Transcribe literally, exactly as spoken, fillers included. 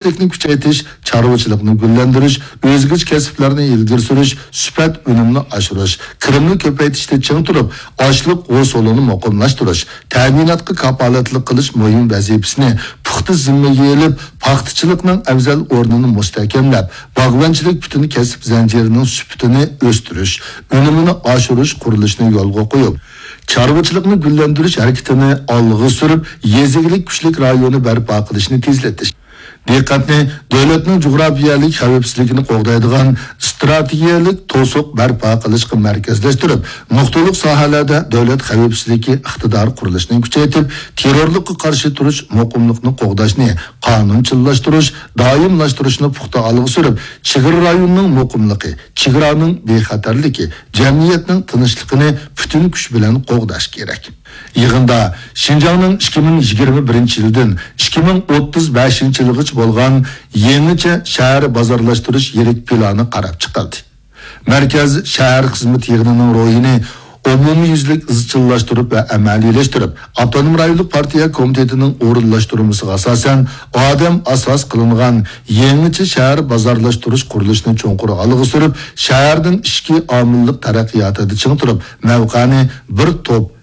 تىرىكچىلىكنى كۈچەيتىش، چارۋىچىلىقنى گۈللەندۈرۈش، ئۆزگىچە كەسىپلەرنى ئىلگىرى سۈرۈش، سۈپەت ئۈنۈمنى ئاشۇرۇش، كىرىمنى كۆپەيتىشتە چىڭ تۇرۇپ، ئاشلىق ھوسۇلىنى مۇقىملاشتۇرۇش، تەمىناتقا كاپالەتلىك قىلىش مۇھىم ۋەزىپىسىنى پۇختا زىممىگە ئېلىپ، پاختىچىلىقنىڭ ئەۋزەل ئورنىنى مۇستەھكەملەپ، باغۋەنچىلىك پۈتۈن كەسىپ زەنجىرىنىڭ سۈپىتىنى ئۆستۈرۈش، ئۈنۈمىنى ئاشۇرۇش قۇرۇلۇشىنى يولغا قويۇپ، چارۋىچىلىقنى گۈللەندۈرۈش ھەرىكىتىنى ئالغا سۈرۈپ، يېزا ئىگىلىك كۈچلۈك رايونى بەرپا قىلىشنى تېزلىتىش. دىققەتنى دۆلەتنىڭ جۇغراپىيەلىك خەۋپسىزلىكىنى قوغدايدىغان ئىستراتېگىيەلىك توسۇق بەرپا قىلىشقا مەركەزلەشتۈرۈپ، نۇقتىلىق ساھەلەردە دۆلەت خەۋپسىزلىكى ئىقتىدارى قۇرۇلۇشىنى كۈچەيتىپ، تېررورلۇققا قارشى تۇرۇش مۇقىملىقنى قوغداشنى قانۇنچىللاشتۇرۇش، دائىملاشتۇرۇشنى پۇختا ئالغا سۈرۈپ، چېگرا رايونىنىڭ مۇقىملىقى، چېگرانىڭ بىخەتەرلىكى، جەمئىيەتنىڭ تىنچلىقىنى پۈتۈن كۈچ بىلەن قوغداش كېرەك. يىغىندا شىنجاڭنىڭ ئىككى مىڭ يىگىرمە بىرىنچى يىلدىن ئىككى مىڭ ئوتتۇز بەشىنچى يىلغىچە بولغان يېڭىچە شەھەر بازارلاشتۇرۇش يىرىك پىلانى قاراپ چىقىلدى. مەركەز شەھەر خىزمىتى يىغىنىنىڭ روھىنى ئومۇميۈزلۈك ئىزچىللاشتۇرۇپ ۋە ئەمەلىيلەشتۈرۈپ، ئاپتونوم رايونلۇق پارتىيە كومىتېتىنىڭ ئورۇنلاشتۇرمىسىغا ئاساسەن، ئادەم ئاساس قىلىنغان يېڭىچە شەھەر بازارلاشتۇرۇش قۇرۇلۇشىنى چوڭقۇر ئالغا سۈرۈپ، شەھەرنىڭ ئىچكى ئامىللىق تەرەققىياتىدا چىڭ تۇرۇپ، مەۋقەنى بىر توپ